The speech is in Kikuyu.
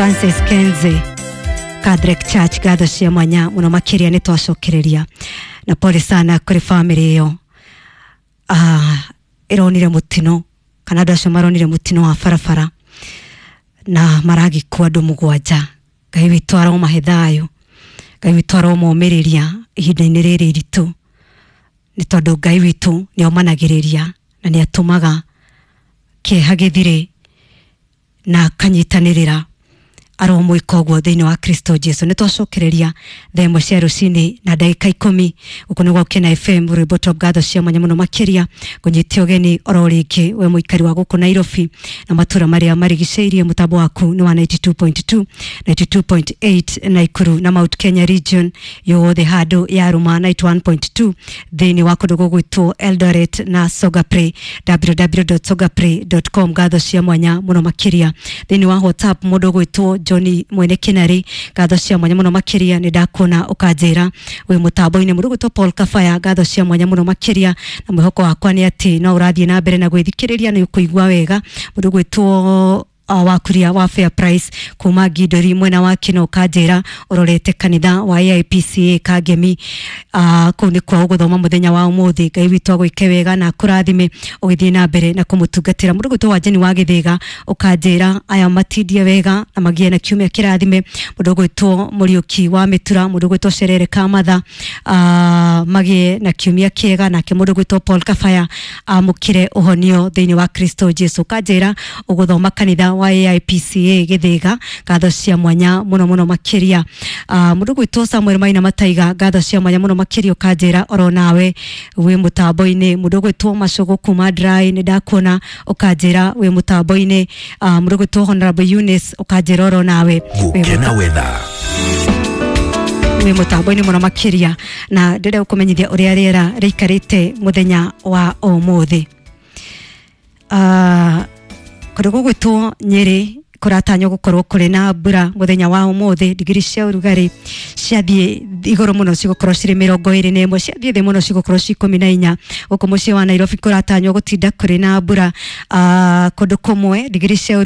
Francis Kenze Catholic Church, ngatho cia mwanya muno makiria ni twacokereria na pole sana kuri family iyo ironire mutino kana andu acio maronire mutino wa barabara na maragikua andu mugwanja. Ngai witũ aromahe thayo, Ngai witũ aromomĩrĩria ihinda-inĩ rĩrĩ iritũ, nĩ tondũ Ngai witũ nĩ omanagĩrĩria na nĩ atũmaga kĩeha gĩthire na akanyitanĩrĩra aromwĩka ũguo thĩinĩ wa Kristo Jesu. Nĩ twacokereria thaa ĩmwe cia rũcinĩ na ndagĩka 10 gũkũ nĩ Gũkena FM rwĩmbo top ngatho cia mwanya mũno makĩria ngũnyite ũgeni oro rĩngĩ we mũikari wa gũkũ Nairobi na matũra marĩa marigicĩirie. Mũtambo waku nĩ wa 92.2 92.8 Nakuru na Mount Kenya region yothe handũ ya Ruma 91.2 thĩinĩ wa kũndũ gũgwĩtwo Eldoret na Sogapre www.sogapre.com. Ngatho cia mwanya mũno makĩria thĩinĩ wa WhatsApp mũndũ ũgwĩtwo Johnny Mwene Kinari, ngatho cia mwanya mũno makĩria nĩ ndakuona ũkanjĩra wĩ mũtambo-inĩ. Mũndũ ũgwĩtwo Paul Kafaya, ngatho cia mwanya mũno makĩria na mwĩhoko wakwa nĩ atĩ no ũrathiĩ na mbere na gwĩthikĩrĩria nĩ ũkũigua wega. Mũndũ ũgwĩtwo wakuria wa Fair Price kuma Ngindori mwena wa Kino kanjira urorete kanitha wa AIPCA Kangemi, kuu nĩ kwa ũgũthoma mũthenya wa ũmũthĩ. Ngai witũ agwĩke wega na akũrathime ũgĩthiĩ na mbere na kũmũtungatĩra. Mũndũ ũgwĩtwo Wanjeni wa Gĩthĩga ũkanjĩra aya matindie wega na magĩe na kiumia kĩrathime. Mũndũ ũgwĩtwo Mũriũki wa Mĩtura, mũndũ ũgwĩtwo Cerere Kamatha, magĩe na kiumia kĩega. Nake mũndũ ũgwĩtwo Paul Kafaya amũkĩre ũhonio thĩinĩ wa Kristo Jesu. Kanjĩra ũgũthoma kanitha wa AIPCA Gĩthĩga, ngatho cia mwanya mũno mũno makĩria. Mũndũ ũgwĩtwo Samuel Maina Mataiga, ngatho cia mwanya mũno makĩria ũkanjĩra oro nawe wĩ mũtambo-inĩ. Mũndũ ũgwĩtwo Macũgũ kuma Dry nĩ ndakuona ũkanjĩra wĩ mũtambo-inĩ. Mũndũ ũgwĩtwo Honorable Eunice ũkanjĩra oro nawe Gũkena Weather wĩ mũtambo-inĩ mũno makĩria, na ndĩrenda gũkũmenyithia ũrĩa rĩera rĩikarĩte mũthenya wa ũmũthĩ. Kũndũ gũgwĩtwo Nyĩrĩ kũratanywo gũkorwo kũrĩ na mbura mũthenya wa ũmũthĩ. Digiri cia ũrugarĩ ciathiĩ igũrũ mũno cigũkorwo cirĩ 21, ciathiĩ thĩ mũno cigũkorwo ci 14. Gũkũ mũciĩ wa Nairobi kũratanywo gũtinda kũrĩ na mbura, kũndũ kũmwe digiri cia